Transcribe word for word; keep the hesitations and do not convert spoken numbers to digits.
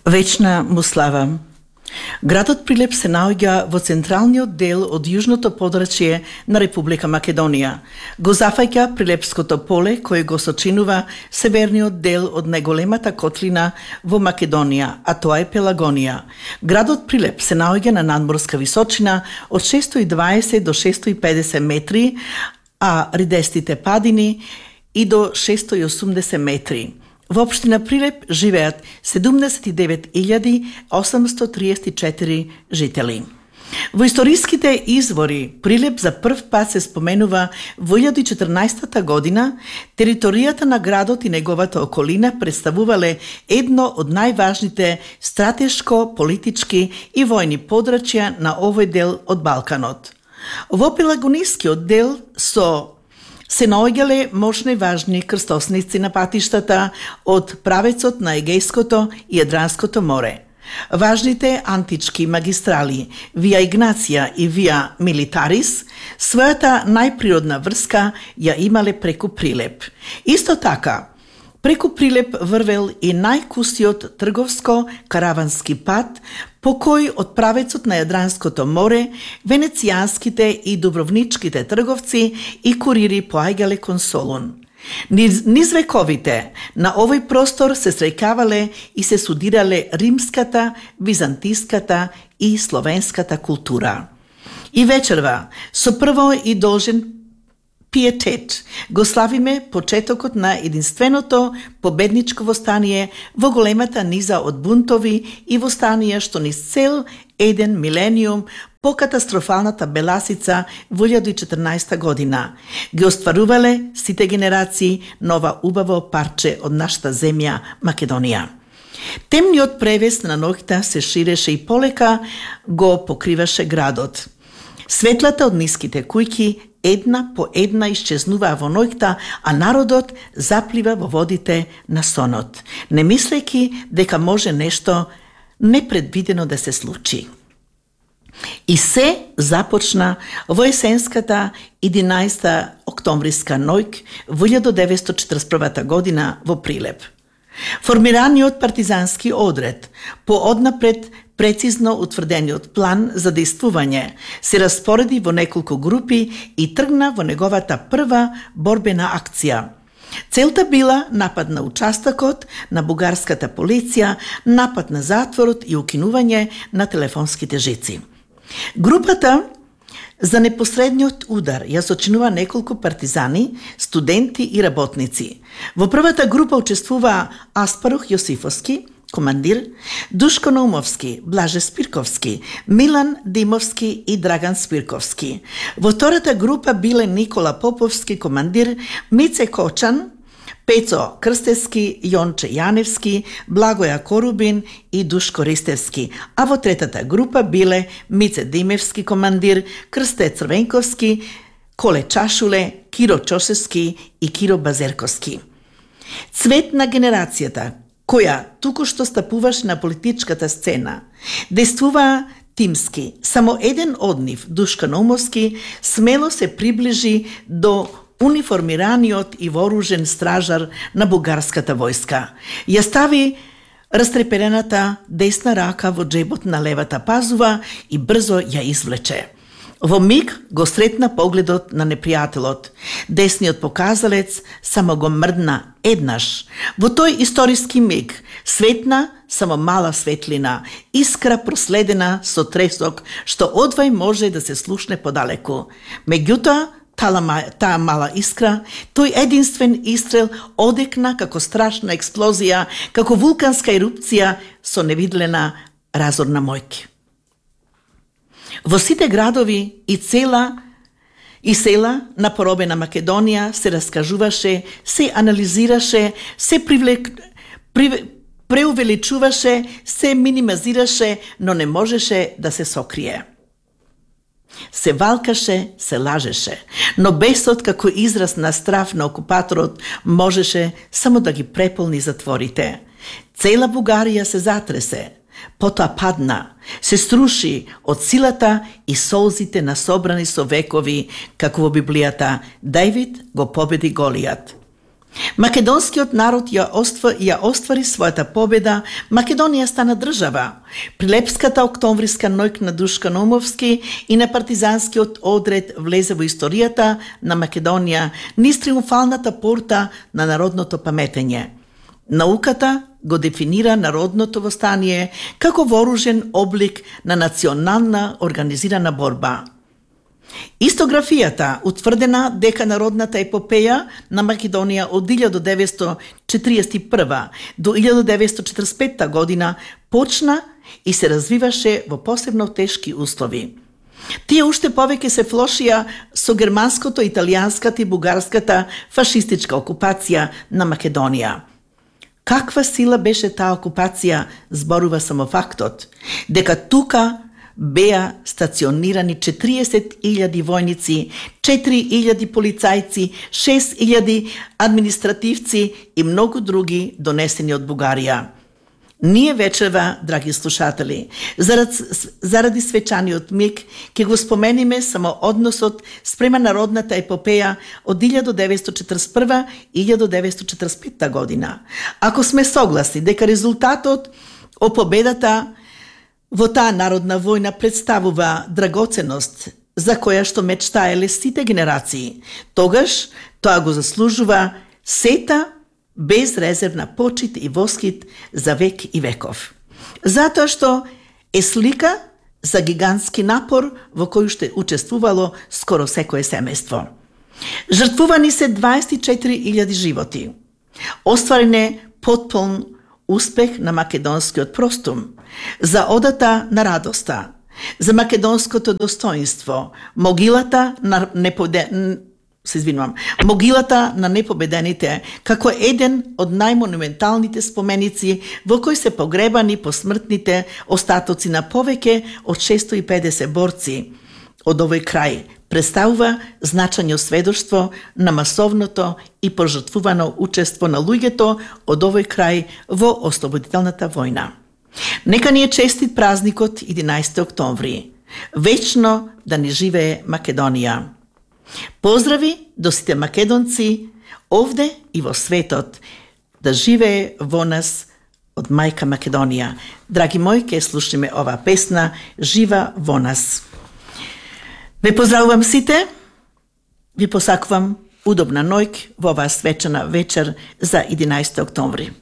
Вечна му слава. Градот Прилеп се наоѓа во централниот дел од јужното подрачје на Република Македонија. Го зафаќа Прилепското поле, кој го сочинува северниот дел од најголемата котлина во Македонија, а тоа е Пелагонија. Градот Прилеп се наоѓа на надморска височина од шестоста и дваесет до шестоста и педесет метри, а ридестите падини и до шестоста и осумдесет метри. Во општина Прилеп живеат седумдесет и девет илјади осамсто триесет и четири жители. Во историските извори Прилеп за прв пат се споменува во илјада и четрнаесетта година. Територијата на градот и неговата околина представувале едно од најважните стратешко, политички и војни подрачја на овој дел од Балканот. Во Пелагонискиот дел со се наоѓале мощни важни крстосници на патиштата од правецот на Егејското и Јадранското море. Важните антички магистрали Вија Игнација и Вија Милитарис својата најприродна врска ја имале преку Прилеп. Исто така, преку Прилеп врвел и најкусиот трговско-каравански пат, по кој од правецот на Јадранското море венецијанските и дубровничките трговци и курири поаѓале кон Солун. Низ, низ вековите на овој простор се среќавале и се судирале римската, византиската и словенската култура. И вечерва, со прво и должен пиетет, го славиме почетокот на единственото победничко востание во големата низа од бунтови и востанија што низ цел еден милениум по катастрофалната Беласица во илјада и четрнаесетта година ги остварувале сите генерации на ова убаво парче од нашата земја Македонија. Темниот превес на ноќта се ширеше и полека го покриваше градот. Светлата од ниските кујки една по една исчезнуваа во ноќта, а народот заплива во водите на сонот, не мислејќи дека може нешто непредвидено да се случи. И се започна во есенската единаесетта октомвриска ноќ во илјада деветстотини четрдесет и прва година во Прилеп. Формираниот партизански одред по однапред прецизно утврдениот план за действување се распореди во неколку групи и тргна во неговата прва борбена акција. Целта била напад на участокот на бугарската полиција, напад на затворот и укинување на телефонските жици. Групата за непосредниот удар ја сочинува неколку партизани, студенти и работници. Во првата група учествуваа Аспарух Јосифовски, командир, Душко Наумовски, Блаже Спирковски, Милан Димовски и Драган Спирковски. Во втората група биле Никола Поповски, командир, Мице Кочан, Пецо Крстевски, Јонче Јаневски, Благоја Корубин и Душко Ристевски, а во третата група биле Мице Димевски, командир, Крсте Црвенковски, Коле Чашуле, Киро Чосевски и Киро Базерковски. Цвет на генерацијата, која туку што стапуваш на политичката сцена, действува тимски. Само еден од нив, Душко Наумовски, смело се приближи до униформираниот и вооружен стражар на бугарската војска. Ја стави растреперената десна рака во джебот на левата пазува и брзо ја извлече. Во миг го сретна погледот на непријателот. Десниот показалец само го мрдна еднаш. Во тој историски миг светна само мала светлина, искра проследена со тресок, што одвај може да се слушне подалеку. Меѓутоа, таа мала искра, тој единствен истрел одекна како страшна експлозија, како вулканска ерупција со невидлена разорна моќ. Во сите градови и цела и села на поробена Македонија се раскажуваше, се анализираше, се привлек, прив, преувеличуваше, се минимизираше, но не можеше да се сокрие. Се валкаше, се лажеше, но бесот како израз на страв на окупаторот можеше само да ги преполни затворите. Цела Бугарија се затресе, потоа падна, се струши од силата и солзите насобрани со векови, како во Библијата Давид го победи Голијат. Македонскиот народ ја, оства, ја оствари својата победа, Македонија стана држава. Прилепската октомвриска ноќ на Душка Наумовски и на партизанскиот одред влезе во историјата на Македонија низ триумфалната порта на народното паметење. Науката го дефинира народното востание како вооружен облик на национална организирана борба. Истографијата утврдена дека народната епопеја на Македонија од илјада деветстотини четиридесет и прва до илјада деветстотини четрдесет и пета година почна и се развиваше во посебно тешки услови. Тие уште повеќе се влошија со германското, италијанската и бугарската фашистичка окупација на Македонија. Каква сила беше таа окупација, зборува само фактот дека тука беа стационирани четириесет илјади војници, четири илјади полицајци, шест илјади административци и многу други донесени од Бугарија. Ние вечерва, драги слушатели, заради, заради свечаниот миг, ќе го спомениме само односот спрема народната епопеја од илјада деветстотини четрдесет и прва и илјада деветстотини четрдесет и пета година. Ако сме согласни дека резултатот од победата во таа народна војна представува драгоценност за која што мечтаеле сите генерации, тогаш тоа го заслужува сета безрезервна почит и воскит за век и веков. Затоа што е слика за гигантски напор во кој што учествувало скоро секое семејство. Жртвувани се дваесет и четири илјади животи. Остварен е потполн успех на македонскиот простум, за одата на радоста, за македонското достоинство, могилата на непобедените, се извинувам, могилата на непобедените, како еден од најмонументалните споменици во кој се погребани посмртните остатоци на повеќе од шестоста и педесет борци од овој крај, представува значајно сведоштво на масовното и пожртвувано учество на луѓето од овој крај во ослободителната војна. Нека ни е честит празникот единаесети октомври. Вечно да ни живее Македонија. Поздрави до сите македонци овде и во светот. Да живее во нас од мајка Македонија. Драги мои, ке слушаме ова песна Жива во нас. Ве поздравувам сите, ви посакувам удобна ноќ во оваа свечена вечер за единаесети октомври.